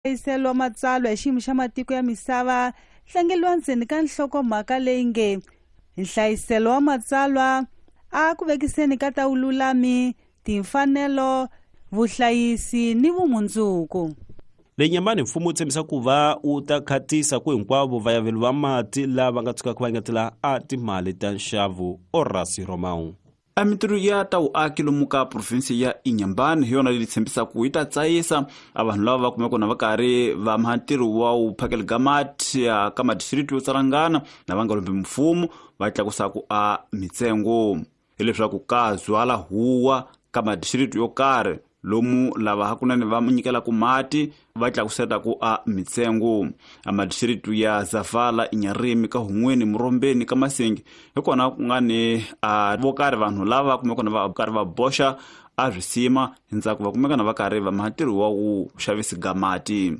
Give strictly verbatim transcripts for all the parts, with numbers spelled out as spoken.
Nhlayiselo wa matsalwa hi xiyimo xa matiko ya misava tlangeliwa ndzeni ka nhlokomhaka leyi nge nhlayiselo wa matsalwa a ku vekiseni ka ta vululami, timfanelo, vuhlayisi ni vumundzuku. Le Nyamani mfumo wu tshembisa ku va wu ta khatisa ku hinkwavo vayaveli va mati lava nga tshukaka va engetela a timali ta nxavo. Orasi Romao. A mintirho ya ta vuaki lomu ka provinsi ya Inhambane hi yona leyi tshembisaka yi ta tsayisa a vanhu lava va kumeka na va karhi va maha ntirho wa wu phakela ka mati ka madistrikiti yo tsarangana na va nga lombi mfumo va tlakusaku a mitsengo, hileswaku ka zwala huwa ka madistrikiti yo karhi lomu lava hakunene va nyikelaka mati va tlakusetaku a mitsengo. A madistrikiti ya Zavala, Inharime, ka Hun'weni, Murombeni, ka Masingi hi kona ku nga ni a vo karhi vanhu lava kumeka na va karhi va boxa a swisima ndzhaku va kumeka na va karhi va maha ntirho wa ku xavisi ga mati.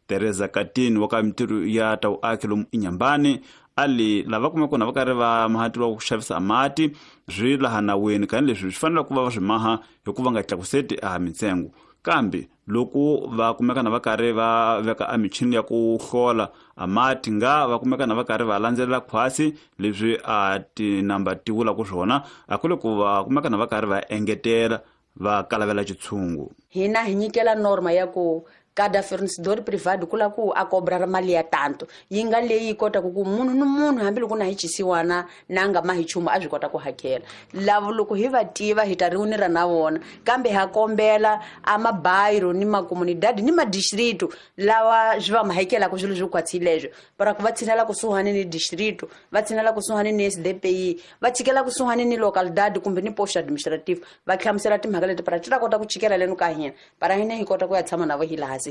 Teresa Katini wa ka mintirho ya ta vuaki lomu Inhambane a li lava kumeka na va karhi va maha ntirho wa ku xavisa mati swi laha naweni, kani leswi swi fanele ku va va swi maha hikuva nga tlakuseti a mitsengo, kambe loko va kumeka na va karhi va veka a michini ya ku hlola a mati nga va kumeka na va karhi va landzelela khwasi leswi a tinamba ti vulaka swona, a ku le ku va kumeka na va karhi va engetela va kalavela xitshungu. Hina hi nyikela norma ya ku kada fornecedor privado kula ku a cobrar mali ya tanto yi nga leyi kota ku munhu ni munhu hambiloko na hi chisiwana na nga ma hi chumu a swi kota ku hakela. Lavo loko hi va tiva hi ta riunira na vona, kambe ha kombela a mabayiro ni makomunidadi ni madistrito lawa swi va ma hakelaka swilo swo kwatsileswo para ku va tshinela kusuhani ni distrito, va tshinela kusuhani ni S D P I, va tshikela kusuhani ni localidade kumbe ni post administrative, va hlamusela timhaka leti para ti ta kota ku chikela leno ka hina para hina hi kota ku ya tshama na vo hi laha.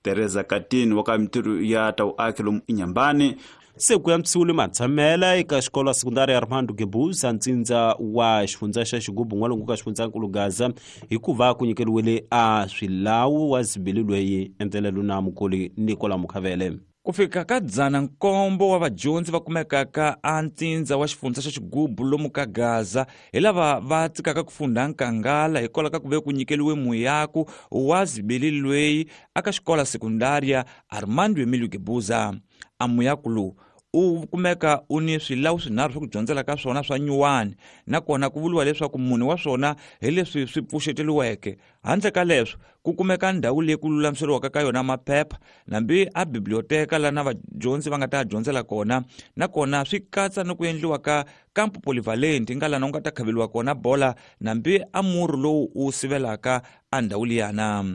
Teresa Katini wa ka mintirho ya ta vuaki lomu Inhambane. Se ku antswisiwile matshamela eka xikolo sekundari ya Armando Guebuza ntsindza wa xifundza xa Xigubu n'walungu ka xifundzankulu Gaza hikuva ku nyikeriwile a swilawu wa zibili loyi endlelelo na mukoli Nicola Mukhavele. Ku fika ka dzana nkombo wa vadyondzi va kumekaka a ntsindza wa xifundza xa Xigubu lomu ka Gaza hi lava va tsikaka ku funda nkangala hikwalaho ka ku ve ku nyikeliwe muyaku wa zibili loyi aka xikola sekundaria Armando Emilio Guebuza. A muyaku lowu u kumeka u ni swilawu swinharhu swa ku dyondzela ka swona swa nyuwani, nakona ku vuriwa leswaku mune wa swona hi leswi swi pfuxeteliweke. Handle ka leswo ku kumeka ndhawu leyi ku lulamiseriwaka ka yona maphepha nambi a biblioteka lana vadyondzi va nga ta dyondzela kona, nakona swi katsa ni ku endliwa ka campo polivalente nga lana u nga ta khaveliwa kona bola nambi a murhi lowu wu sivelaka a ndhawu liyana.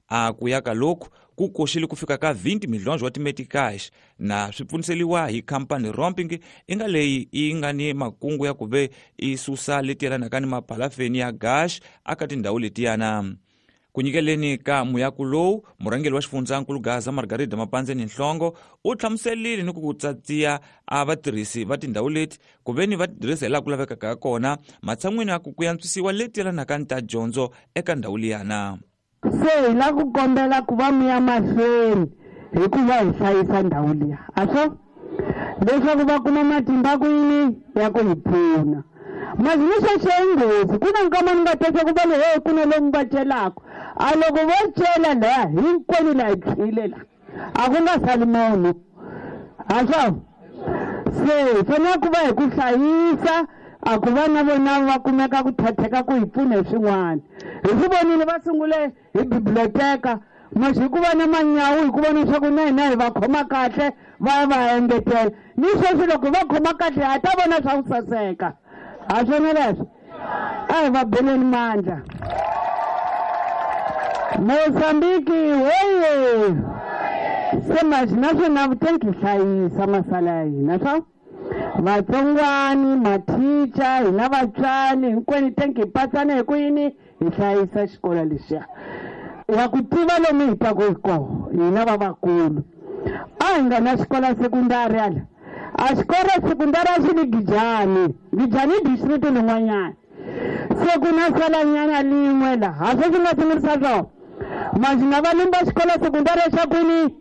A ku ya ka loku ku koxile ku fika ka twenty milhonjo wa timetikash na swi pfuniseliwa hi khampani Romping i nga leyi yi nga ni makungu ya ku ve i susa leti yelanaka ni mapalafeni ya gash aka tindhawu letiyana. Ku nyikeleni ka muyaku lowu, murhangeri wa xifundzankulu Gaza Margarida Mapandzeni Nhlongo u hlamuserile ni ku ku tsatsiya a vatirhisi va tindhawu leti ku ve ni va tirhisa hi laha ku lavekaka kona matshan'wini ya ku ku antswisiwa leti yelanaka ni ta dyondzo eka ndhawu liyana. Se hi la ku kombela ku va mi ya mahlweni hikuva hi hlayisa ndhawu liya, a swo leswaku va kuma matimba ku yini ya ku hi pfuna. Mazini sweswo i nghozi, ku na nkama ni nga twa ku va le he ku na lomu va celaka, a loko vo cela laha hinkwenu laha hi tshwile la a ku nga sali munhu, a swo se hi fanele ku va hi ku hlayisa a ku va na vona va kumeka ku thatheka ku hi pfuna hi swin'wana. Hi swi vonile va sungule hi biblioteka masi hi ku va na manyawu hi ku vona leswaku na hina hi va khoma kahle va ya va engetela ni sweswi loko va khoma kahle ha ta vona swa ku saseka, ha swona leswo a hi va beleni mandla. Mozambiki hoye se masi naswona vutenki hlayisa masala ya hina swa vatsongwani mathicha hina vatswari hinkwenu tenki hi patsana hi ku yini hi hlayisa xikolo lexiya wa ku tiva lomu hi taku hi koho hina vavakulu. A hi nga na xikolo sekundari ala a xikolo sekundari a xi li Gijani, Gijani i district lin'wanyana se ku na salanyana lin'we laha ha swo swi nga sungurisa swona masi na va lumba xikolo sekundari xa kwini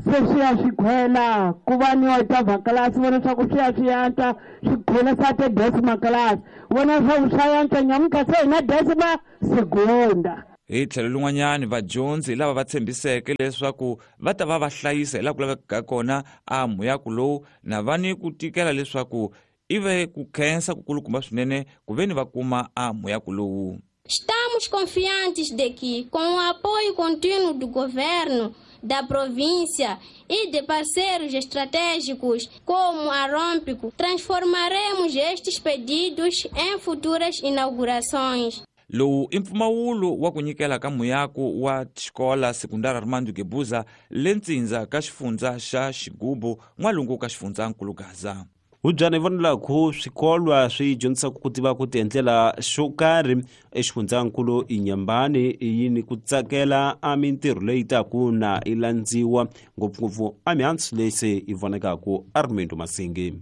se swi ya swi khwela ku va ni wa class vona swa ku swi ya swi antswa swi khwela sa te decima class vona swa ku swa antswa nyamuntlha se hi na decima segunda. Hi tlhelo lin'wanyani vadyondzi lava va tshembiseke leswaku va ta va va hlayisa hi laha ku lavekaka kona a muyaku lowu na va ni ku tikela leswaku ive ku khensa ku kulukumba swinene ku ve ni va kuma a muyaku lowu. Estamos confiantes de que, com o apoio contínuo do governo, da província e de parceiros estratégicos como a Rompico, transformaremos estes pedidos em futuras inaugurações. Lowu i mpfumawulo wa ku nyikela ka muyaku wa xikola sekundara Armando Guebuza le ntsindza ka xifundza xa Xigubu n'walungu ka xifundzankulu Gaza. Hubyana hi vonela ku swikolwa swi dyondzisaka ku tiva ku tiendlela xo karhi exifundzankulu Inhambane yini ku tsakela a mintirho leyi taku na i landziwa ngopfungopfu a mihandzu leyi se yi vonekaku Armando Masingi.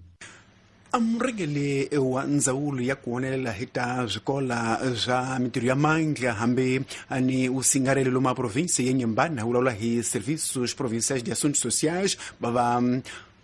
Amurhengele wa ndzawulo ya ku honelela hi ta swikola swa mintirho ya mandla hambi ni usingarelo loma província ya Inhambane vulavula hi Serviços Provinciais de Assuntos Sociais bava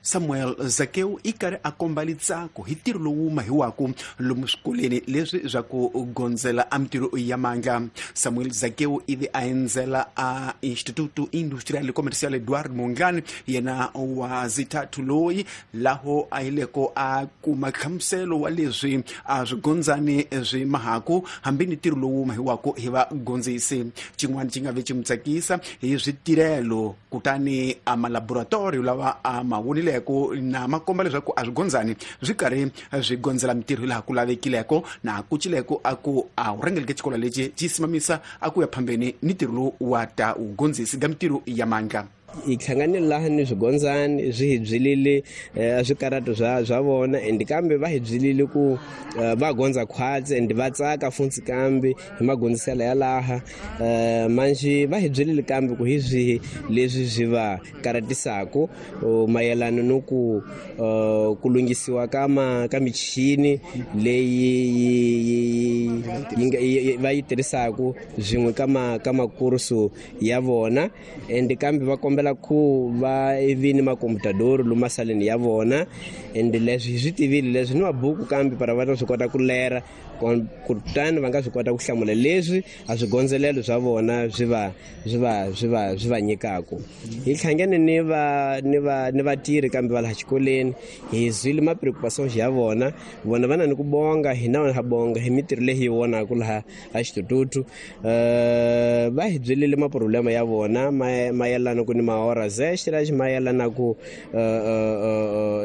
Samuel Zakeu i karhi a komba litsako hi ntirho lowu mahiwaku lomu swikolweni leswi swa ku gondzela a mintirho ya mandla. Samuel Zakeu ivi a endzela a Instituto Industrial e Comercial Eduardo Mondlane yena wa zithathu loyi laho a yileko a kuma nhlamuselo wa leswi a swi gondzani swi mahaku hambi ni ntirho lowu mahiwaku hi vagondzisi. Xin'wana xi nga ve xi n'wi tsakisa hi switirhelo kutani a malaboratori lawa a ma vonile na makomba leswaku a swi gondzani swi karhi swi gondzela mintirho laha ku lavekileko na ku cileko a ku a wu rhengeleke xikolo lexi xi simamisa a ku ya phambeni ni ntirho lowu wa ta wu gondzisi ka mintirho ya mandla. Hi hlanganile laha ni swigondzani swi hi byelile swikarato swa swa vona and kambe va hi byelile ku va gondza khwatsi and va tsaka funtsi kambe hi magondziselo ya laha manjhe va hi byelile kambe ku hi swihi leswi swi va karatisaku mayelana no ku ku lunghisiwa ka ma ka michini leyi yi va yi tirhisaku swin'we ka ma ka makursu ya vona and kambe va kombela ku va evini makomputadoro loma saleni ya vona and leswi hi swi tivile leswi ni mabuku kambe para va ta swi kota ku lera kutani va nga swi kota ku hlamula leswi a swigondzelelo swa vona swi va swi va swi va swi va nyikaku. Hi hlangane ni va ni va ni vatirhi kambe va laha xikolweni hi zwile ma preoccupations ya vona vona va na ni ku bonga hina ha bonga hi mintirho leyi hi vonaku laha a xitututu va hi byelile maproblema ya vona mayelana ku ni mahoras extra mayelana ku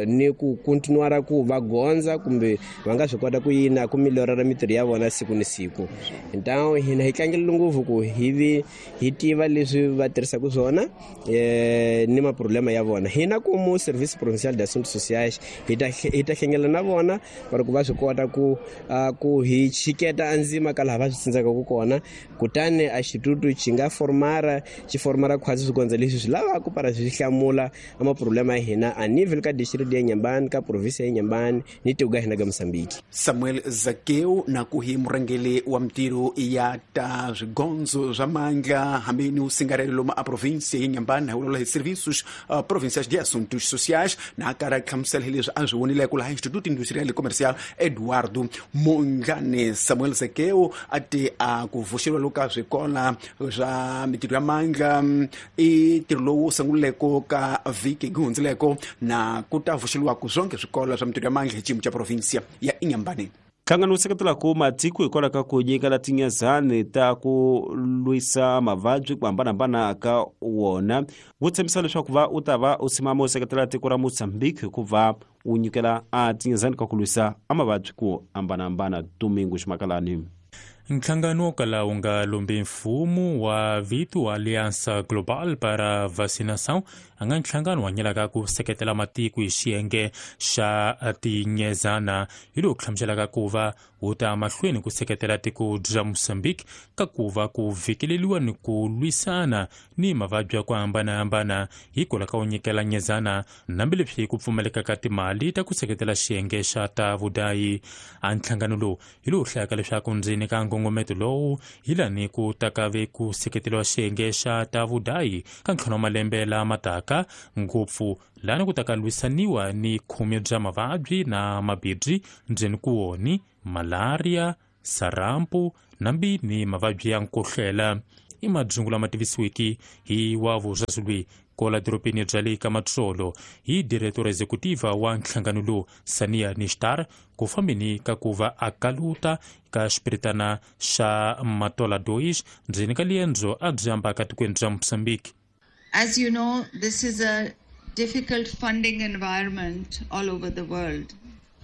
ni ku continuara ku va gondza kumbe va nga swi kota ku yina ku melhorara mintirho ya vona siku ni siku. Então hina hi tlangela ngopfu ku hi vi hi tiva leswi va tirhisaka swona ni maproblema ya vona. Hina como Serviço Provincial de Assuntos Sociais hi ta hi ta hlengela na vona para ku va swi kota ku ku hi chiketa andzima ka laha va swi tsindzaka ku kona kutani a xitutu xi nga formara xi formara khwatsi swigondza leswi swi lavaka para swi hlamula a maproblema ya hina a nível ka distrito ya Inhambane ka província ya Inhambane ni tiko ka hina ka Mozambique. Samuel Zakeu na ku hi murhangeli wa mintirho ya ta swigondzo swa mandla hambi ni usingarelo loma a província ya Inhambane vulavula hi Serviços uh, Provinciais de Assuntos Sociais na karhi a hlamusela hi leswi a swi vonileko laha Instituto Industrial e Comercial Eduardo Mondlane. Samuel Zakeu a te a ku vuxeriwa loka swikola swa mintirho ya mandla i ntirho lowu sunguleko ka vhiki ku hundzileko na ku ta vuxeriwaku swonke swikolo swa mintirho ya mandla hi xiyimo xa província ya Inhambane. Nhlangano wu seketelaka matiko hikwalaho ka ku nyikela tinyezani ta ku lwisa mavabyi ku hambanahambana ka wona wu tshembisa leswaku va u ta va u simama u seketela tiko ra Mozambique hikuva wu nyikela a tinyezani ka ku lwisa a mavabyi ku hambanahambana. Domingo Ximakalani. Nhlangano wo kala wu nga lombi mfumo wa vito Aliança Global para Vacinação a nga nhlangano wa nyelaka ku seketela matiko hi xiyenge xa tinyezana hi lowu hlamuselaka ku va wu ta mahlweni ku seketela tiko ra Mozambique ka ku va ku vhikeleliwa ni ku lwisana ni mavabyi ya ku hambanahambana hikwalaho ka wu nyikela nyezana hambileswi ku pfumaleka ka timali ta ku seketela xiyenge xa ta vudayi. A nhlangano lowu hi lowu hlayaka leswaku ndzeni ka nkongometo lowu hi lani ku ta ve ku seketeriwa xiyenge xa ta vudayi ka ntlhanu wa malembe lama taka ngopfu lani ku ta ka lwisaniwa ni khume bya mavabyi na mabibyi ndzeni ku woni malaria, sarampu nambi ni mavabyi ya nkohlela. I madzungu lama tivisiwiki hi wa vuzazulwi kola doropeni bya le ka Matsolo hi diretora executiva wa nhlangano lowu Sania Nishtar ku fambeni ka ku va a kaluta ka xipiritana xa Matola Dois ndzeni ka liendzo a byi ambaka tikweni bya Mozambique. As you know, this is a difficult funding environment all over the world.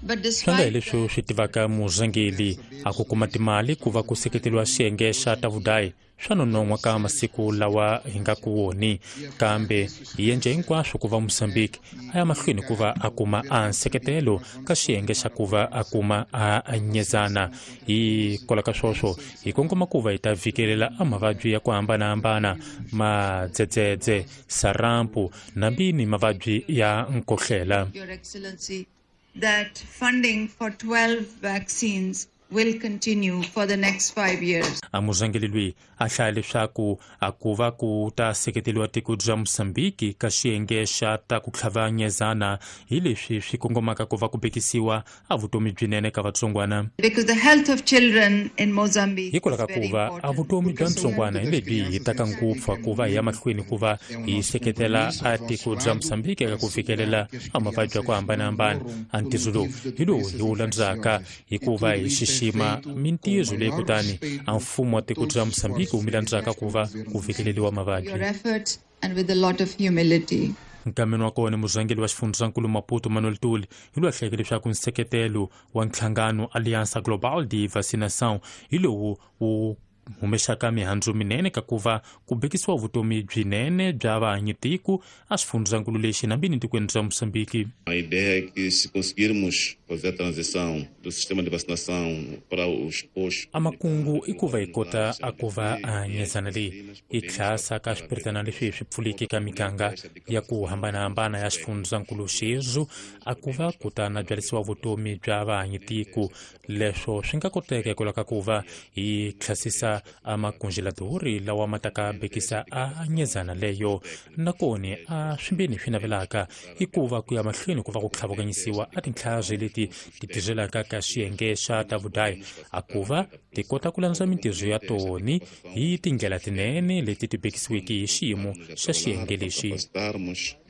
Swi nga hi leswi swi tivaka muzangeli a ku kuma timali ku va ku seketeriwa xiyenge xa ta vudayi swa nonon'hwa ka masiku lawa hi nga ku woni, kambe hi endla hinkwaswo ku va Mozambique a ya mahlweni ku va a kuma a nseketelo ka xiyenge xa ku va a kuma a nyezana. Hi kola ka swoswo hi kongoma ku va hi ta vikelela a mavabyi ya ku hambanahambana, madzedzedze, sarampu nambi ni mavabyi ya nkohlela. Your Excellency, that funding for twelve vaccines will continue for the next five years. A muzangeli loyi a hlaya leswaku a ku va ku ta seketeriwa tiko bya Mozambique ka xiyenge xa ta ku tlhava nyezana hi leswi swi kongomaka ku va ku bekisiwa a vutomi byinene ka vatsongwana. Because the health of children in Mozambique hikwalaho ka ku va a vutomi bya ntsongwana hi lebyi hi taka ngopfu ku va hi ya mahlweni ku va hi seketela a tiko bya Mozambique eka ku fikelela a mavabyi ya ku hambanahambana. A ntirho lowu hi lowu hi wu landzaka hikuva hi xixima mintirho leyi kutani a mfumo wa tiko bya Mozambique wu mi landzaka ku va ku fikeleriwa mavabyi. Your efforts and with a lot of humility. Nkameni wa kona muzangeli wa xifundzankulu Maputo Manuel Tuli hi loyi a hlayeke leswaku nseketelo wa nhlangano Aliança Global de Vacinação hi lowu wu humexaka mihandzu minene ka ku va ku bekisiwa vutomi byinene bya vahanyitiko a xifundzankulu lexi nambini tikweni bya Mozambique. A ideia é que se conseguirmos fazer a transição do sistema de vacinação para os postos. A makungu i ku va hi kota a ku va a nyezana leyi i tlhasa ka swipiritana leswi swi pfuliki ka miganga ya ku hambanahambana ya xifundzankulu xexo a ku va ku ta na byarisiwa vutomi bya vahanyitiko. Leswo swi nga koteka hikwalaho ka ku va hi tlhasisa a makongeladori lawa ma taka bekisa a nyezana leyo. Nakona a swimbeni swi navelaka i ku va ku ya mahlweni ku va ku tlhavukanyisiwa a tintlhari leti ti tirhelaka ka xiyenge xa ta vudayi a ku va ti kota ku landza mintirho ya toni hi tindlela tinene leti ti bekisiweke hi xiyimo xa xiyenge lexi.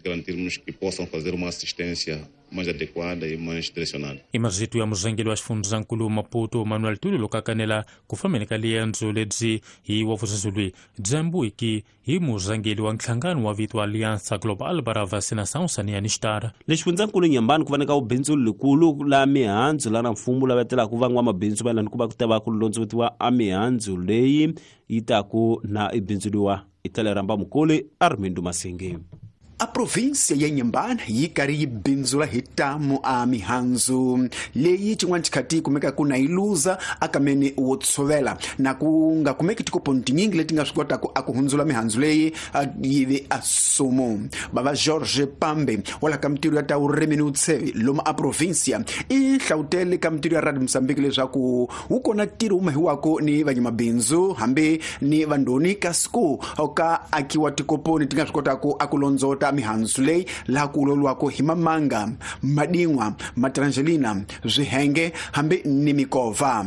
Garantirmos que possam fazer uma assistência mais adequada e mais direcionada. I marito ya muzangeli wa xifundzankulu Maputo Manuel Tuli loko a kanela ku fambeni ka liendzo lebyi hi wa vuzazulwi byambuiki hi muzangeli wa nhlangano wa vito Aliança Global para Vacinação Sania Nishtar. Le xifundzankulu Nyambani ku va na ubindzu likulu la mihandzu la na mfumo lava telaka van'wamabindzu va ku va ku ta va ku londzovutiwa a mihandzu leyi yi taku na ibindzuliwa i ramba mukoli Armindo Masingi. A província ya Inhambane yi karhi yi bindzula hi tamu a mihandzu leyi xin'wana xikhati yi kumekaka na yi luza akameni wo tshovela na ku nga kumeki tikoponi tinyingi leti nga swi kotaka a ku hundzula mihandzu leyi yi ve a sumu. Bava George Pambe wala ka mintirho ya ta vurimi ni vutsheve lomu a província i hlawutele ka mintirho ya Radio Mozambique leswaku wu kona ntirho wu mahiwako ni vanyamabindzu hambi ni vandoni kasi ku ka akiwa tikoponi ti nga swi kotaka a ku londzota mihandzu leyi laha ku uloliwako hi mamanga, madin'wa, matrangelina, swihenge hambi ni mikova.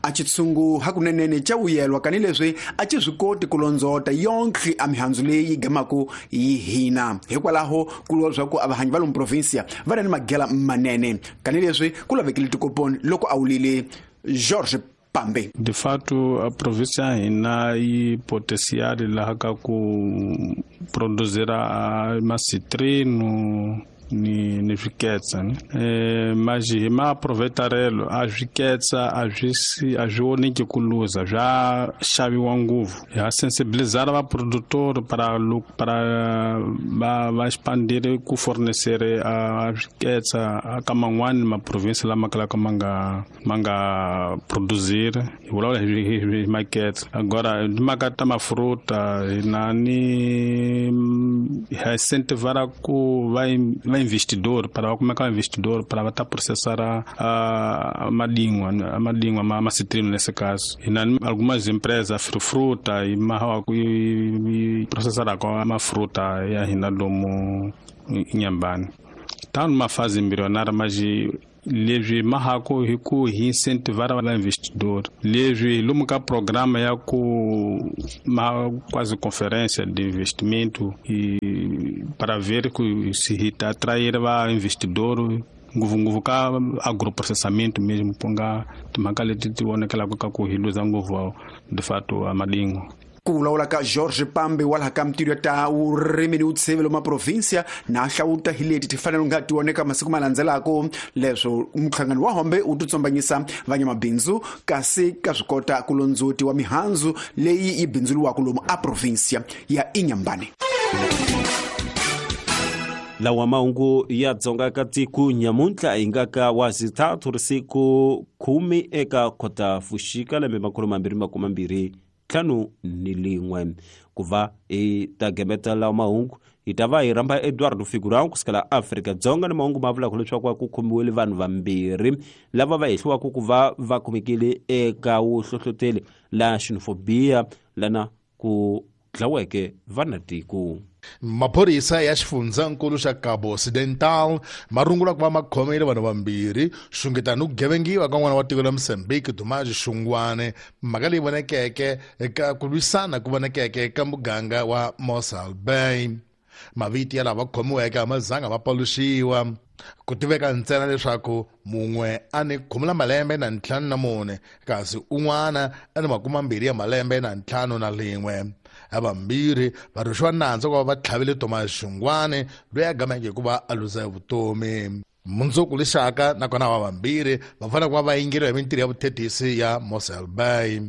A xitshungu hakunenene xa vuyelwa kanileswi a xi swi koti ku londzota yonkhe a mihandzu leyi yi gamaku yi hina. Hikwalaho ku lwa leswaku a vahanyi va lomu provinsia va ri ni magela manene kanileswi ku lavekile tikoponi loko a wulile George Pambe. De fato, a província ya hina yi potencial laha ka ku produzir a macitrino ni ni swiketsa ne eh mas hi ma aproveitarelo a swiketsa a swi a swi oniki ku luza swa xaviwa ngopfu. Ha sensibilizar va produtor para para va va expandir ku fornecer a swiketsa ka man'wani ma province lama kalaka ma nga ma nga produzir hi vulavula hi maketsa. Agora timhaka ta mafruta hina ni ha incentivara ku va investidor para como é que é investidor para estar processar a a madingua a madingua a macitrino nesse caso. E na algumas empresas fruta e ma e processar com a fruta e a hina domo Inhambane. Tá numa fase embrionária, mas Leswi mahako hi ku hi incentivar va investidor. Leswi lomu ka programa ya ku ma quase conferência de investimento e para ver que se hi ta atrair va investidor ngopfungopfu ka agroprocessamento mesmo ku nga timhaka leti ti vonekelaka ka ku hi luza ngopfu de fato a madingo. Ku vulavula ka George Pambe wa laha ka mintirho ta vurimi ni vutshevelo ma provinsia na hlawuta hi leti ti fanele nga ti voneka masiku ma landzelaka leswo nhlangano wa hombe wu titsombanyisa vanyamabindzu kasi ka swi kota ku londzoti wa mihandzu leyi yi bindzuriwaka lomu a provinsia ya Inhambane. Lawa mahungu ya Dzonga ka tiko nyamuntlha hi nga ka wa zithathu risiku khume eka kota fuxika lembe makhulu mambirhi makume mbirhi ntlhanu ni lin'we. Ku va hi ta gemeta lawa mahungu hi ta va hi rhamba Eduardo Figurão kusukela Afrika-Dzonga ni mahungu ma vulaka leswaku ku khomiwile vanhu vambirhi lava va hehliwaka ku va va khomekile eka vuhlohloteli la xenofobia lana ku dlaweke vanatiko. Maphorisa ya xifundzankulu xa Cabo Occidental ma rungula ku va ma khomile vanhu vambirhi xungeta no gevengiwa ka n'wana wa tiko la Mozambique Dumaji Xungwane, mhaka leyi vonekeke eka ku lwisana ku vonekeke eka muganga wa Mossel Bay. Mavito ya lava khomiweke a ma zanga ma paluxiwa, ku tiveka ntsena leswaku mun'we a ni khume la malembe na ntlhanu na mune kasi un'wana a ni makume mbirhi ya malembe na ntlhanu na lin'we. Havambirhi va rhwexiwa nandzu ku va va tlhavile Thomas Xungwane loyi a gameke hi ku va a luza vutomi. Mundzuku lexaka nakona va vambirhi va fanele ku va va yingeriwa hi mintirho ya vuthethisi ya Mossel Bay.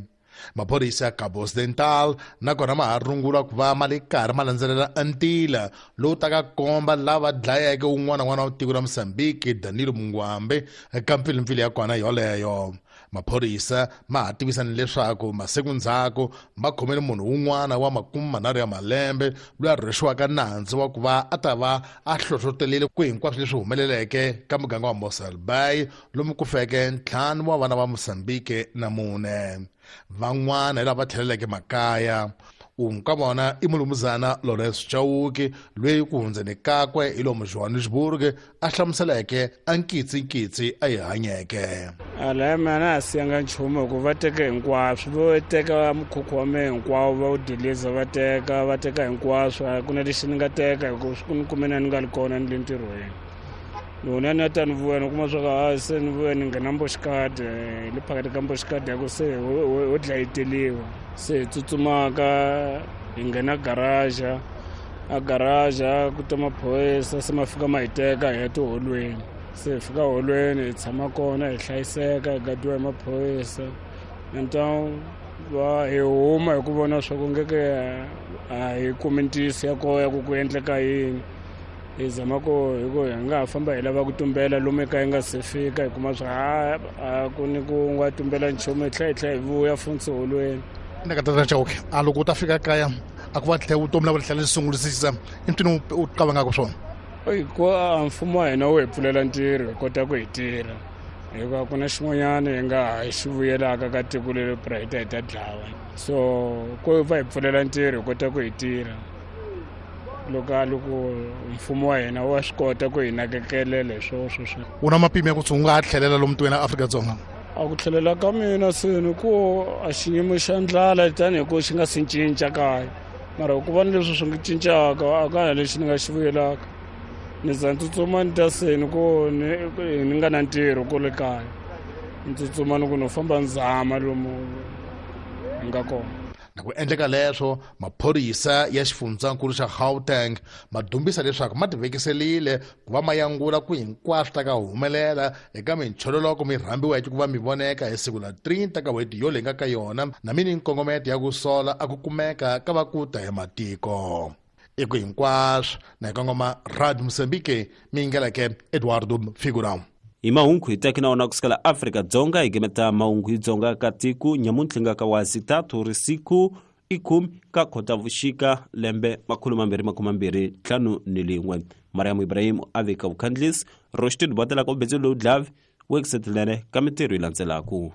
Maphorisa ya Cabo Occidental nakona ma ha rungula ku va ma le karhi ma landzelela ntila lowu taka komba lava dlayeke un'wana n'wana wa tiko ra Mozambique Danilo Mungwambe eka mpfilimpfili ya kona yoleyo. Maphorisa ma ha tivisa ni leswaku masiku ndzhaku ma khomele munhu un'wana wa makume manharhu ya malembe loyi a rhwexiwaka nandzu wa ku va a ta va a hlohlotelile ku hinkwaswo leswi humeleleke ka muganga wa Mossel Bay lomu ku feke ntlhanu wa vana va Mozambique na mune. Van'wana hi lava tlheleleke makaya. Un'we ka vona i mulumuzana Lawrence Chauke loyi ku hundzeni kakwe hi lomu Johannesburg a hlamuseleke a nkitsinkitsi a yi hanyeke. Ala mina a siyanga nchumu hikuva va teke hinkwaswo, vo teka mukhukhu wa mehe hinkwawo va wu diliza va teka va teka hinkwaswo, a ku na lexi ni nga teka hikuva swi ku ni kume na ni nga ri kona ni le ntirhweni. Loko ni ya ni ya ta ni vuya ni kuma swa ku a se ni vuya ni nghena mboxikadi le phakathi ka mboxikadi ya ku se ho dlayeteliwa se hi tsutsumaka hi nghena garaja a garaja ku ta maphorisa se ma fika ma hi teka hi ya tiholweni se hi fika holweni hi tshama kona hi hlayiseka hi gadiwa hi maphorisa então va hi huma hi ku vona swa ku ngeke a hi kumi ntiyiso ya koho ya ku ku endleka yini. Hi zama ku hi ku hi nga ha famba hi lava ku tumbela lomu ekaya hi nga se fika hi kuma swa ha a ku ni ku nga tumbela nchumu hi tlhela hi tlhela hi vuya funtsi holweni. Ni ka tata Chauke a loko u ta fika kaya a ku va tlhela vutomi la tlhela sungulisisa i ntwini u qavangaka swona? I ku a mfumo wa hina wu hi pfulela ntirho hi kota ku hi tirha hikuva ku na xin'wanyana hi nga ha xi vuyelaka ka tiko leri pra hi ta hi ta dlawa so ku va hi pfulela ntirho hi kota ku hi tirha. Loko loko mfumo wa hina wa swi kota ku hi nakekelela hi swo sweswo. U na mapimo ya ku u nga ha tlhelela lomu tikweni ra Afrika-Dzonga? A ku tlhelela ka mina seni ku a xiyimo xa ndlala tanihi ku xi nga si cinca kaya mara ku va ni leswi swi nga cincaka a ka ha lexi ni nga xi vuyelaka ni za ni tsutsuma ni ta seni ku ni ni nga na ntirho kule kaya ni tsutsuma ni ku no famba ni zama lomu hi nga kona. Na ku endleka leswo maphorisa ya xifundzankulu xa Gauteng ma dumbisa leswaku ma tivekiselile ku va ma yangula ku hinkwaswo ta ka humelela eka minchololoko mi rhambiweke ku va mi voneka hi siku la thirty ka n'hweti yoleyi nga ka yona na mini nkongometo ya ku sola a ku kumeka ka va ku ta hi matiko. I ku hinkwaswo na hi kongoma Radio Mozambique mi yingeleke Eduardo Figurão. Hi mahungu hi teki na wona kusukela Afrika-Dzonga hi gemeta mahungu hi Dzonga ka tiko nyamuntlha nga ka wa zithathu risiku i khume ka Khotavuxika lembe makhulu mambirhi makume mbirhi ntlhanu ni lin'we. Mariam Ibrahim a veka vukhandlisi Roshtin Botela ka ubetse lowu dlavi wekusetelene ka mintirho yi landzelaku.